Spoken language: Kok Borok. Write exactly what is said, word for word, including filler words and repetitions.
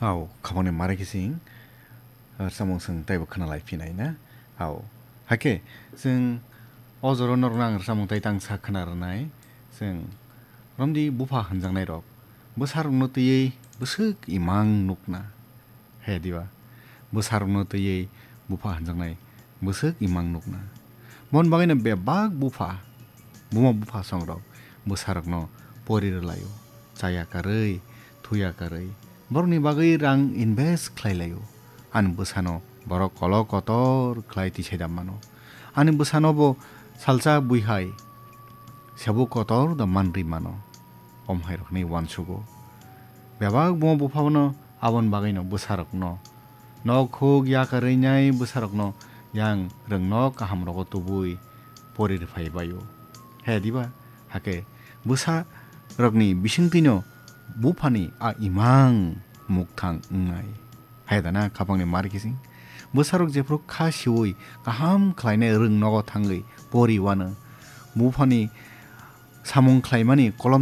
Hao, khabangni mare khe chwng rwchapmung chwng taibo khna lai phinai na. Hao, hakhe chwng o jora norokno ang rwchapmung tai tangsa khna rwnai. Chwng romdi bupha hwnjaknai rok bwsarokno twiwi bwswk imang nukna. He diba? Bwsarokno twiwi bupha hwnjaknai bwswk imang nukna. Bon bagwino bebak bupha, buma bupha songrok bwsarokno pori rwlaio, chaya karwi, thuya karwi. Borokni bagwi rang invest khlai laio. Ani bwsano borok kolok kotor khlai tisai da mano. Ani bwsano bo salsa bui hai sebo kotor da manri mano. Om hai rokni uansugo. Bebak buma buphano aboni bagwino bwsarokno nok huk yakarwi nai bwsarokno yang rwng nok kaham rogo tubui pori rwphai baio. He diba? Hakhe bwsa rokni bisingtwino buphani a imang mukthang wngnai. Hai dana khapangni mar kising. Bwsarok jephuru kha siwi kaham khlainai rwng nogo thangwi pori wano. Buphani samung khlaimani kolom